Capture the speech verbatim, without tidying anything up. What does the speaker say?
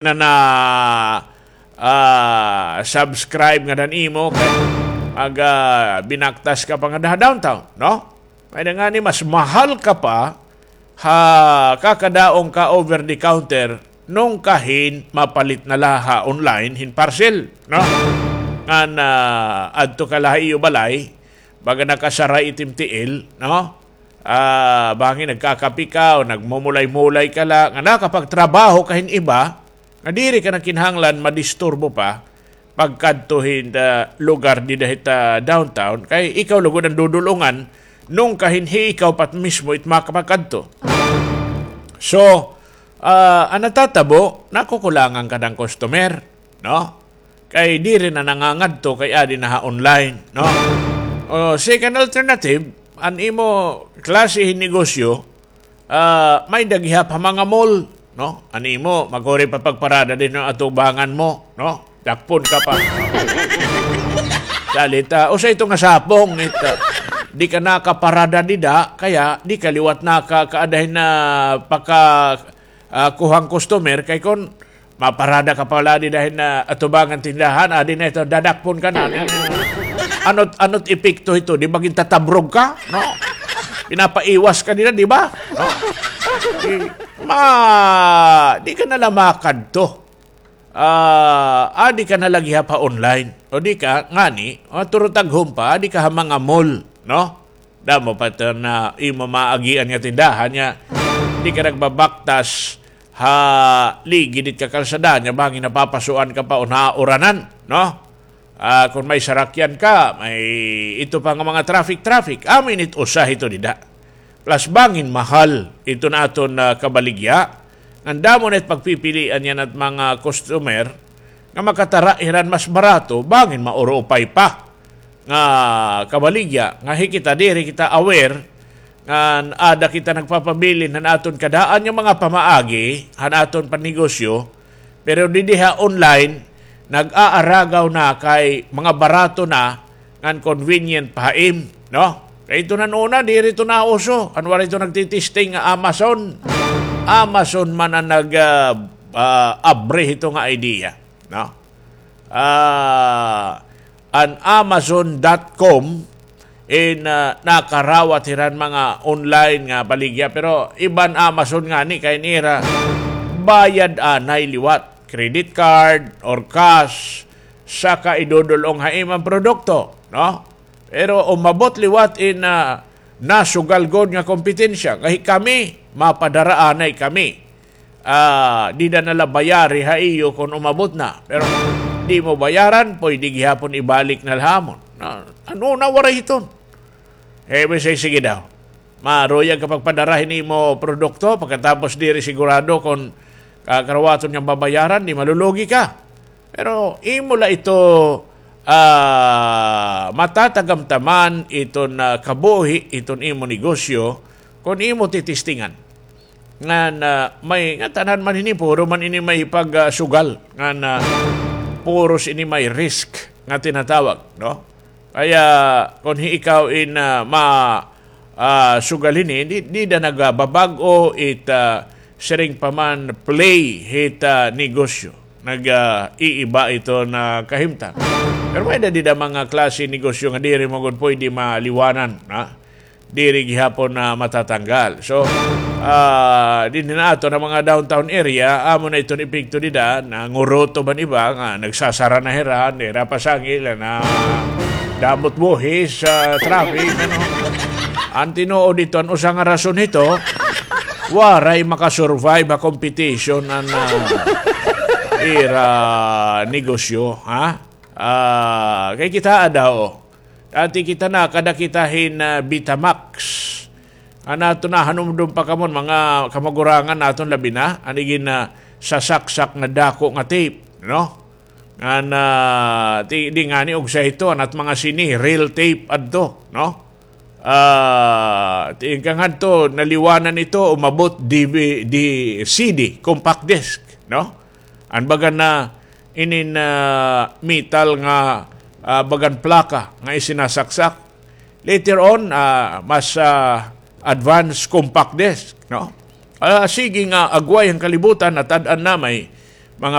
na na, ah, subscribe ngada han imo kay mag, ah, binaktas ka pa ngada ha downtown, no? May-ada ngani mas mahal ka pa ha kakadaong ka over the counter nung kahin mapalit na la ha online hin parcel, no? Ngan, ah, adto ka la ha iyo balay, baga nakasaray it im tiil, no? Ah, bangin nagkakape ka o nagmumulay-mulay ka la, nga nakapagtrabaho ka hin iba, nga diri ka na kinahanglan madisturbo pa pagkadto hin, ah, lugar dida hit, ah, downtown, kay ikaw lugod an dudul-ongan, nung kahin hi ikaw pa mismo it makapagkadto. So, ah, an natatabo, nakukulangan ka han customer, no? Kay diri na nangangadto kay adi na ha online, no? O, second alternative, an imo klase hin negosyo, ah, may-ada gihap ha mga mall, no? An imo, magkuri pa pagparada dinhi an atubangan mo, no? Dakpon ka pa. Salita, usa ito nga sapong, it, ah, di ka nakaparada dida, kaya di ka liwat nakakaada hin, ah, paka, ah, kuhang customer, kay kon maparada ka pa la dida hin, ah, atubangan tindahan, adi na ito, dadakpon ka na. Ano't, ano't epekto ito, di ba gintatabrog ka, no? Pinapaiwas ka nila, di ba? No? Di, ma, di ka na la makadto. Ah, adi ka na la gihap ha online. O di ka, ngani, o, turutag humpa, adi ka ha mga mall, no? Damo pa ito na imo maagian nga tindahan niya. Di ka nagbabaktas ha ligid it kakalsada niya, bangin napapasuan ka pa o nauranan, no? Ah, kon may sarakyan ka, may ito pa nga mga traffic-traffic. Amin it usa hito dida. Plus bangin mahal ito na aton, ah, kabaligya. Ngan damo na it pagpipilian niyan at mga customer nga makatara hiran mas barato, bangin maurupay pa nga kabaligya, nga hi kita diri kita aware, ngan ada kita nagpapabilin han aton kadaan nga mga pamaagi, han aton pannegosyo, pero didi ha online, nag-aaragaw na kay mga barato na, ngan convenient pa ha im, no? Kay ito nan una, diri ito nauso. An waray ito nagtitesting nga Amazon. Amazon man an nag, ah, ah, abri hito nga idea, no? Ah, an Amazon dot com in, ah, nakarawat hiran mga online nga baligya, pero iban Amazon ngani kay nira bayad anay liwat, credit card or cash, saka idudul-ong ha im an produkto, no? Pero umabot liwat in, ah, nasugal gud nga kompetensya. Kay kami, mapadara anay kami. Ah, dida na la bayari ha iyo kon umabot na. Pero di mo bayaran, pwede gihapon ibalik na la ha amon. Na, ano na, waray hiton. Eh, we say, sige daw. Maruyag ka pagpadara hin imo produkto, pagkatapos diri sigurado kon, ah, karawaton nga babayaran, di malulugi ka. Pero imo la ito, ah, matatagamtaman iton, ah, kabuhi, iton imo negosyo, kon imo titistingan. Ngan, ah, may, ngatanan man ini, puro man ini may pag, ah, sugal. Ngan, ah, puros ini may risk nga tinatawag, no? Kaya, kon hi ikaw in, ah, ma, ah, sugal hini, di, dida nagbabag-o it, ah, siring pa man play hit, ah, negosyo. Nag, ah, iiba ito nga kahimtang. Pero may-ada dida mga klase negosyo nga diri mo gud pwede maliwanan, ha? Diri gihapon na matatanggal. So, ah, dinhi na aton mga downtown area, amo na iton epekto dida, nanguruto man iba nga nagsasara na hira, dira pasangil, na damot buhis sa traffic, ano. An tinuod dito, an usa nga rason hito, waray makasurvive ha competition an, ah, ira negosyo, ha? Ah, kay kitaa daw, dati kita na, kada kita hin, ah, Betamax. An aton na, hanumdom pa kamo, mga kamagurangan naton labi na, an igin, ah, sasaksak nga dako nga tape, no? Ngan, ah, ti, di ngani og sa ito, an at mga sini, reel tape adto, no? Ah, ti, kangadto, naliwanan ito, umabot D V D, C D, compact disc, no? An baga na, inin, ah, metal nga, ah, bagan plaka nga isinasaksak. Later on, ah, mas, ah, advanced compact disc, no? Ah, sige nga, agway an kalibutan, natad-an na may